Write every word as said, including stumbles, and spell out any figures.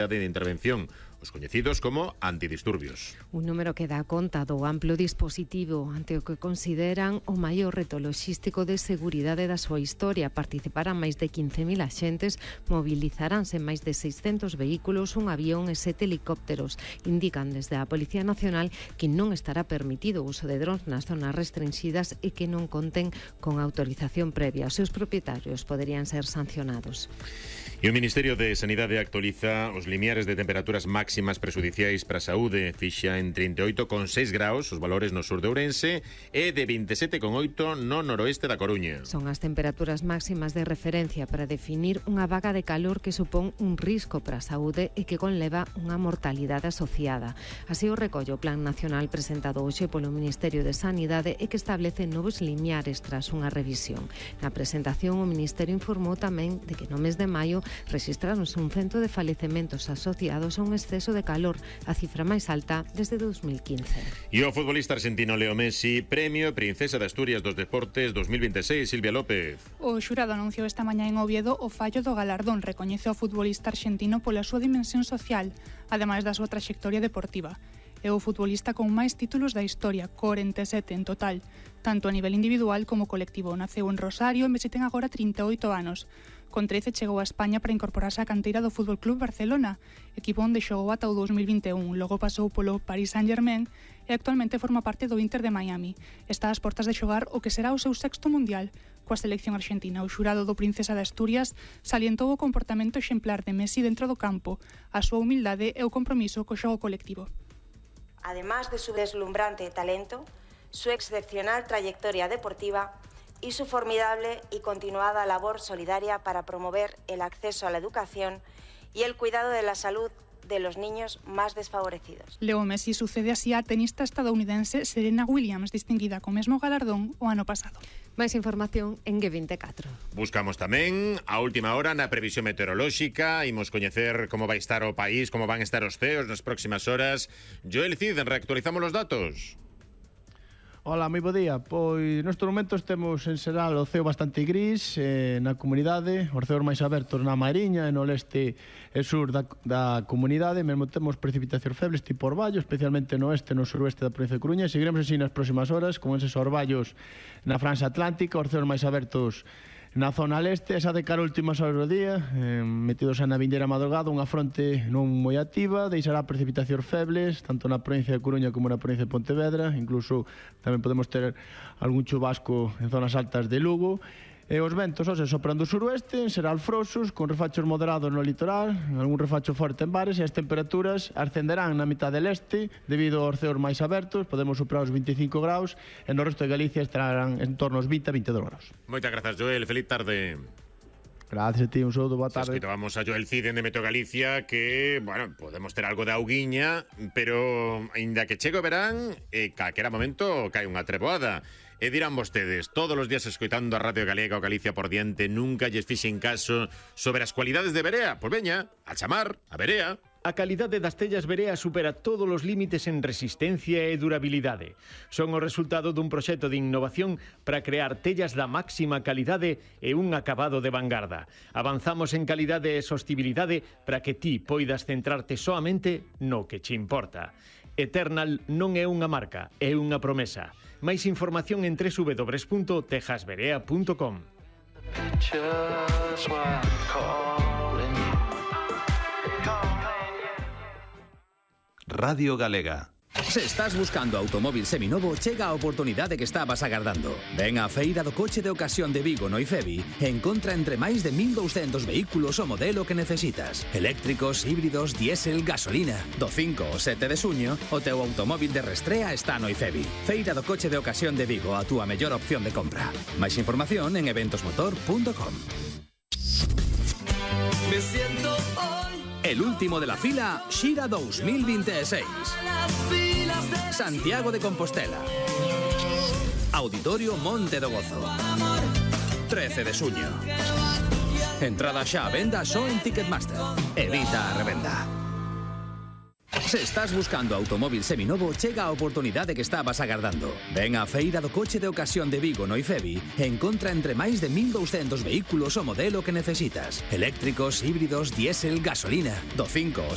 de intervención, os coñecidos como antidisturbios. Un número que dá conta do amplo dispositivo ante o que consideran o maior reto loxístico de seguridade da súa historia. Participarán máis de quince mil axentes, mobilizaránse máis de seiscentos vehículos, un avión e sete helicópteros. Indican desde a Policía Nacional que non estará permitido o uso de drons nas zonas restringidas e que non conten con autorización previa. Os seus propietarios poderían ser sancionados. E o Ministerio de Sanidade actualiza os limiares de temperaturas máximas prexudiciais para a saúde. Fixa en trinta e oito coma seis graus os valores no sur de Ourense e de vinte e sete coma oito no noroeste da Coruña. Son as temperaturas máximas de referencia para definir unha vaga de calor que supón un risco para a saúde e que conleva unha mortalidade asociada. Así o recolle o Plan Nacional presentado hoxe polo Ministerio de Sanidade e que establece novos limiares tras unha revisión. Na presentación, o Ministerio informou tamén de que no mes de maio rexistraronse un cento de falecementos asociados a un exceso de calor, a cifra máis alta desde dos mil quince. E o futbolista argentino Leo Messi, Premio Princesa de Asturias dos Deportes dos mil vinte e seis, Silvia López. O xurado anunciou esta mañá en Oviedo o fallo do galardón. Recoñece ao futbolista argentino pola súa dimensión social, ademais da súa traxectoria deportiva. É o futbolista con máis títulos da historia, corenta e sete en total, tanto a nivel individual como colectivo. Naceu en Rosario e Messi ten agora trinta e oito anos. Con trece chegou a España para incorporarse á canteira do Fútbol Club Barcelona, equipo onde xogou ata o dos mil vinte e un. Logo pasou polo Paris Saint-Germain e actualmente forma parte do Inter de Miami. Está ás portas de xogar o que será o seu sexto mundial coa selección argentina. O xurado do Princesa de Asturias salientou o comportamento exemplar de Messi dentro do campo, a súa humildade e o compromiso co xogo colectivo. Además de su deslumbrante talento, su excepcional trayectoria deportiva y su formidable y continuada labor solidaria para promover el acceso a la educación y el cuidado de la salud de los niños más desfavorecidos. Leo Messi sucede así a tenista estadounidense Serena Williams, distinguida co mesmo galardón o ano pasado. Máis información en G vinte e catro. Buscamos tamén a última hora na previsión meteorolóxica. Imos coñecer como vai estar o país, como van estar os ceos nas próximas horas. Joel Cid, reactualizamos os datos. Ola, moi bo día. Pois nestes momentos temos en xeral o ceo bastante gris eh, na comunidade, os ceos máis abertos na Mariña e no leste e sur da, da comunidade. Mesmo temos precipitacións febles tipo orballo, especialmente no oeste e no suroeste da provincia de Coruña. Seguiremos así nas próximas horas con eses orballos na Franxa Atlántica, os ceos máis abertos na zona leste, esa de cara últimas horas do día, eh, metidos na vindeira madrugada, unha fronte non moi activa, deixará precipitacións febles, tanto na provincia de Coruña como na provincia de Pontevedra, incluso tamén podemos ter algún chubasco en zonas altas de Lugo. E os ventos, ose, sopran do suroeste, será alfrosos, con refachos moderados no litoral, algún refacho forte en bares, e as temperaturas ascenderán na mitad del este, debido aos ceos máis abertos, podemos superar os vinte e cinco graus, e no resto de Galicia estarán en torno aos vinte a vinte e dous graus. Moitas grazas, Joel, feliz tarde. Gracias a ti, un saúdo, boa tarde. Escoitábamos a Joel Cid de Meteo Galicia que, bueno, podemos ter algo de auguiña, pero aínda que chegue o verán, e calquera momento cae unha treboada. E dirán vostedes, todos os días escoitando a Radio Galega o Galicia por diante, nunca lles fixen caso sobre as cualidades de Berea. Pois veña, a chamar a Berea. A calidade das tellas Berea supera todos os límites en resistencia e durabilidade. Son o resultado dun proxecto de innovación para crear tellas da máxima calidade e un acabado de vanguarda. Avanzamos en calidade e sostibilidade para que ti poidas centrarte soamente no que che importa. Eternal non é unha marca, é unha promesa. Máis información en doble u doble u doble u punto tejas berea punto com. Radio Galega. Se estás buscando automóvil seminovo, chega a oportunidade que estabas agardando. Ven á Feira do Coche de Ocasión de Vigo no IFEBI e encontra entre máis de mil douscentos vehículos o modelo que necesitas. Eléctricos, híbridos, diésel, gasolina. Do cinco ao sete de xuño, o teu automóvil de restrea está no IFEBI. Feira do Coche de Ocasión de Vigo, a túa mellor opción de compra. Máis información en eventos motor punto com. Me siento hoy El último de la fila, Xira dos mil vinte e seis. Santiago de Compostela. Auditorio Monte do Gozo. trece de xuño. Entrada xa a venda só en Ticketmaster. Evita a revenda. Se estás buscando automóvil seminovo, chega a oportunidade que estabas agardando. Ven á Feira do Coche de Ocasión de Vigo no IFEBI e encontra entre máis de mil douscentos vehículos o modelo que necesitas. Eléctricos, híbridos, diésel, gasolina. Do cinco ao